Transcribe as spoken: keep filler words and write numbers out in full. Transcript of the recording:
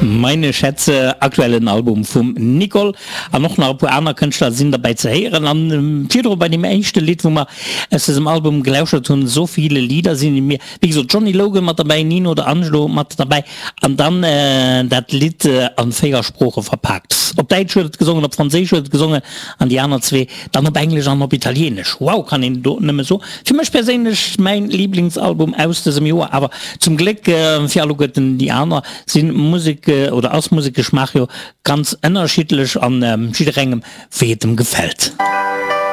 Meine Schätze, aktuellen Album vum Nicole an och nach e puer aner Kënschtler sinn derbäi ze héieren. An virdru bei deem éischte Lidd, wou mer aus dësem Album gelauschert hunn, So viele Lieder sind in mir, wéi gesot Johnny Logan mat derbäi, Nino de Angelo mat derbäi an dann dat Lidd an véier Sprooche verpaakt. Op Däitsch huet et gesongen, op Franséisch huet et gesongen an déi aner zwee dann op Englesch an op Italienesch. Wow, kann een do nëmme soen. Fir mech perséinlech mäin Liblingsalbum aus dësem Joer, awer zum Gléck fir alleguerten déi aner sinn Musek oder ass Musekgeschmaach jo ganz ënnerschiddlech an jidderengem wéi et em gefält.